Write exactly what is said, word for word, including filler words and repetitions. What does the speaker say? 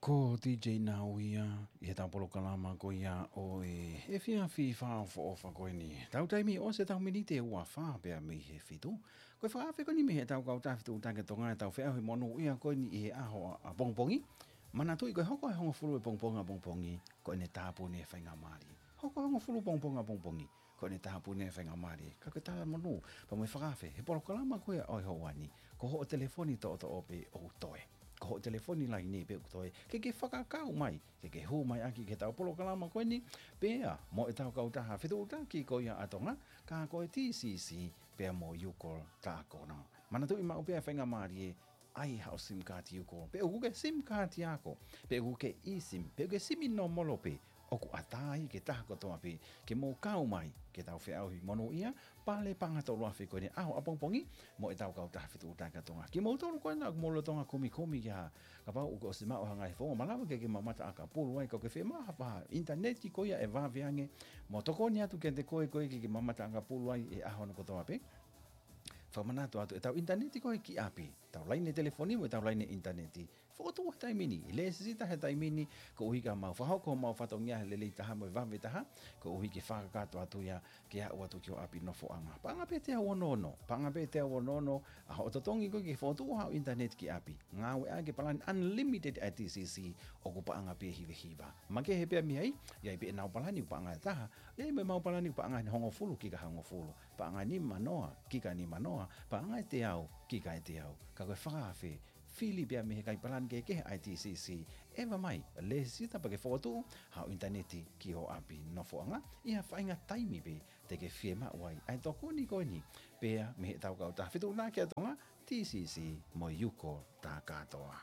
Ko DJ Nauia, ʻi heʻetau polokalama ko ia ʻo e efiafi fakaʻofoʻofa ko eni. Tau taimi ʻosi ʻetau miniti ʻe ua fā pea mei he fitu. Ko e fakaafe ko eni mei heʻetau kautaha fetuʻutaki ʻa Tonga ʻetau feʻauhi monūʻia ko eni ʻi he ʻaho ʻapongipongi. Manatuʻi ko e hoko ʻa e hongofulu ʻapongipongi ʻapongipongi, ko ʻene tāpuni e faingamālie. Hoko hongofulu ʻapongipongi ʻapongipongi, ko ʻene tāpuni e faingamālie. Ka ko e talamonū, pea mo e fakaafe, he polokalama ko ia ʻo e houa ni, ko hoʻo telefoni toʻotoʻo pē ʻoku toe. Ko hoʻo telefoni laine pē ʻoku toe. Ke ke fakakau mai, ke ke hū mai ʻaki ki heʻetau polokalama ko eni, pea mo ʻetau kautaha fetuʻutaki ko ia ʻa Tonga, ka ko e TCC, pea mo Yukol Takona. Manatuʻi maʻu pē ʻa e faingamālie, ʻai haʻo SIM card Yukol. Pe ʻoku ke SIM card ako, pe ʻoku ke eSIM, pe ʻoku ke simi nōmolo pē, ʻoku ʻatā ia ki he taha kotoa pē, ke mou kau mai ki heʻetau feʻauhi monūʻia, Pale paʻanga tolu afe ko eni ʻaho ʻapongipongi, mo ʻetau kautaha fetuʻutaki ʻa Tonga. Kimoutolu ko ena ʻoku mou lolotonga kumikumi ki ha, kapau ʻoku ʻosi maʻu ha ngaahi founga, malava ke ke mamata ʻakapulu ai, ka ʻoku ke fiemaʻu ha faʻahinga ʻinitaneti ko ia ʻe vave ange, mo tokoni atu kiate koe, koe ke ke mamata ʻakapulu ai he ʻaho hono kotoa pē. Fakamanatu atu, ʻetau ʻinitaneti ko ē ki ʻapi, ʻetau laine telefoni mo ʻetau laine ʻinitaneti, fokotuʻu he taimi ni, lēsisita he taimi ni, koeʻuhi ke mau fakahoko homau fatongia he lelei taha mo e vave taha, koeʻuhi ke fakakakato atu ia ke aʻu atu ki ho ʻapi nofoʻanga. Paʻanga pē ʻe teau ono ono, paʻanga pē ʻe teau ono ono ʻa hoʻo totongi ko ē ke fokotuʻu haʻo ʻinitaneti ki ʻapi. Ngāueʻaki e palani unlimited ʻa e TCC, ʻoku paʻanga pē ʻe hiva hiva. Makehe pē ia mei ai, ʻi ai pē ʻenau palani ʻoku paʻanga ʻe taha, ʻi ai mo ʻemau palani ʻoku paʻanga ʻe hongofulu kika hongofulu, paʻanga ʻe nima noa kika nima noa, paʻanga ʻe teau kika ʻe teau. Ka ko e fakaafe, fili pē ia mei he kai palani kehekehe ʻa e TCC, ʻeva mai, lēsisita pea ke fokotuʻu haʻo ʻinitaneti ki ho ʻapi nofoʻanga, ʻi ha faʻahinga taimi pē te ke fiemaʻu ai ʻa e tokoni ko eni, pea mei heʻetau kautaha fetuʻutaki ʻa Tonga, TCC mo Yukol Takona.